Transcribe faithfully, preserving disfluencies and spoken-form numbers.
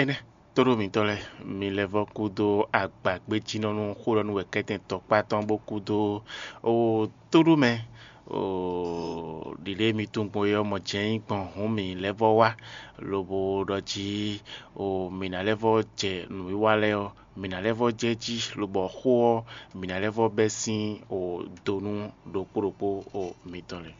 Énɛ́ tóɖó mǐtɔn lɛ́ɛ, mi lɛ́ vɔ́ kúdó agbagbéjínɔ́ nú xó ɖɔ nú wɛ kɛ́tɛn tɔkpá tɔn bó kúdó ó tóɖó mɛ ɖiɖe mi tunwun gbɔn é ɔ́ mɔ jɛ́n nyí gbɔn hǔn mǐ lɛ́ vɔ́ wá, lobo ɖɔ jí mǐ ná lɛ́ vɔ́ jɛ nǔwiwa lɛ́ɛ ɔ́, mǐ ná lɛ́ vɔ́ jɛ jí, lobɔ xó ɔ́, mǐ ná lɛ́ vɔ́ bɛ́ sín do nú ɖokpó ɖokpó mitɔn lɛ́ɛ.